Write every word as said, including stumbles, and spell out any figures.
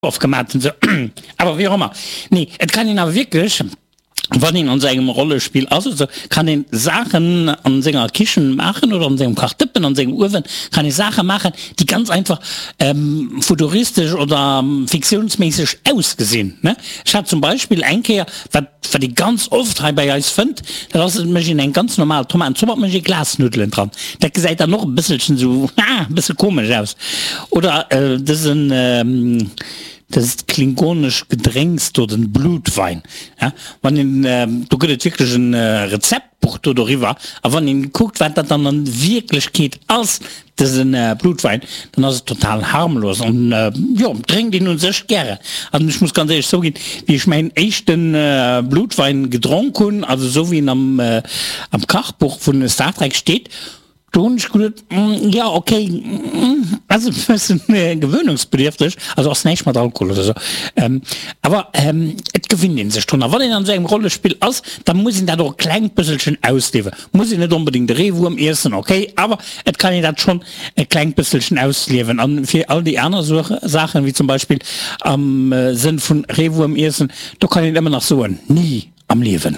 Ofgemaat an sou, awer wéi och ëmmer, nee, et kann een awer wierklech, wann een an sou engem Rollespill ass oder sou, kann een Saachen an senger Kichen maachen oder an sengem Kachdëppen, an sengem Uewen, kann ee Saache maachen, déi ganz einfach futuristesch oder fiktiounsméisseg ausgesinn, ne. Ech hat zum Beispill eng Kéier, wat wat ee ganz oft hei bei eis fënnt, dat ass, et mécht een eng ganz normal Tomatenzopp an et mécht ee Glasnuddelen dran. Dat gesäit dann och e bësselchen esou, ah, e bësse komesch aus. Oder dësen, dëst klingonesch Gedrénks do, den Blutwein, ja, wann een, do gëtt et wierklech en Rezeptbuch do doriwwer, a wann een kuckt, wat dat dann an Wierklechkeet ass, Dësen Blutwein, dann ass et total harmlos an jo, drénkt een un sech gären. An ech muss ganz éierlech zouginn, wéi ech mäin éischte Blutwein gedronk hunn, also esou wéi en am am Kachbuch vun Star Trek steet, do hunn ech geduet, jo ok, ass e bëssen gewöhnungsbedierfteg, also ass näischt mat Alkohol oder esou, awer et gewinnt een sech drun. A wann een an esou engem Rollespill ass, da muss een dat och e klengt bësselchen ausliewen. Muss een net onbedingt de Reewuerm iessen, ok, awer et kann een dat schonn e klengt bësselchen ausliewen. An fir all déi aner Saachen, wéi zum Beispill am Sënn vun Reewuerm iessen, do kann een ëmmer nach soen, ni am Liewen.